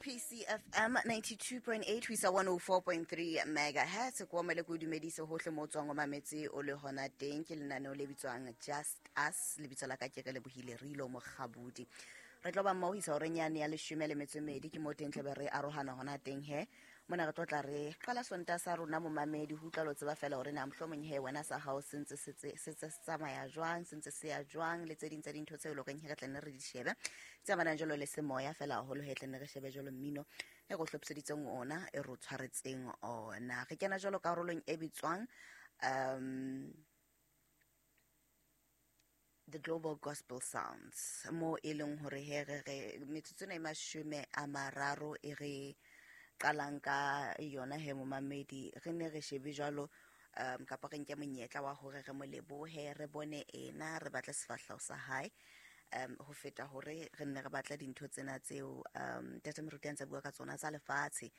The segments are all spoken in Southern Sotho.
PCFM 92.8 ho isa 104.3 megahertz. Ko mele ko dumedise hohle mo tswang o mametse o le hona teng. Ke lenaneo le bitswang Just Us, lebitso la ka ke re lebohile Rilo Mokgabudi. Re tlo ba mmoho isa horeng yane ya 12:30, ke mo teng tlebe re arohana hona teng he. Mona re tlo tla re qala Sontaha sa rona momamedi, ho utlwa lo tseba fela hore na mohlomong he wena sa hao se ntse se se tsamaya jwang, se ntse se ya jwang, le tse ding tsa dintho tseo e leng horeng he re tla nne re di shebe tse amanang jwalo le semoya fela haholo, he tla nne re shebe jwalo mmino e re o hlophiseditseng ona, e re o tshwaretseng ona. Re kena jwalo karolong e bitswang The Global Gospel Sounds, mo e leng hore he re re metsotso ena e 30 e re qalang ka yona he momamedi, re ne re shebe jwalo kapa re nke monyetla wa hore re mo lebohe, re bone ena, re batle sefahleho sa hae, ho feta hore re nne re batla dintho tsena tseo Ntate Moruti a ntse a bua ka tsona tsa lefatshe,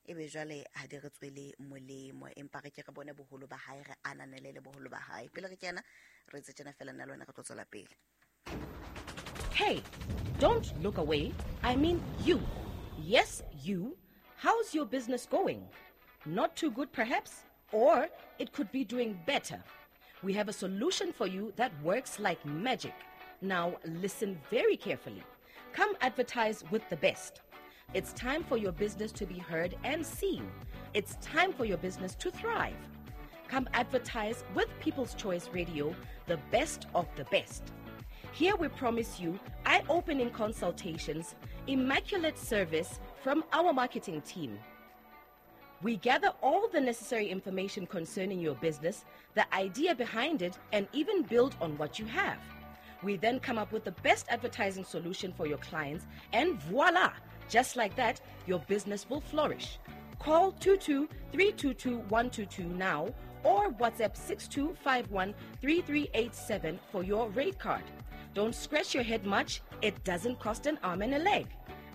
ebe jwale ha di re tswele molemo, empa re ke re bone boholo ba hae, re ananele le boholo ba hae. Pele re kena re etse tjena fela, nna le wena re tlo tswela pele. Hey, don't look away. I mean you. Yes, you. How's your business going? Not too good perhaps, or it could be doing better. We have a solution for you that works like magic. Now listen very carefully. Come advertise with the best. It's time for your business to be heard and seen. It's time for your business to thrive. Come advertise with People's Choice Radio, the best of the best. Here we promise you eye-opening consultations, immaculate service from our marketing team. We gather all the necessary information concerning your business, the idea behind it, and even build on what you have. We then come up with the best advertising solution for your clients, and voila! Just like that, your business will flourish. Call 22-322-122 now or WhatsApp 6251-3387 for your rate card. Don't scratch your head much. It doesn't cost an arm and a leg.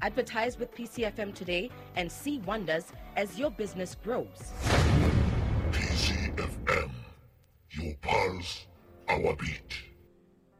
Advertise with PCFM today and see wonders as your business grows. PCFM, your pulse, our beat.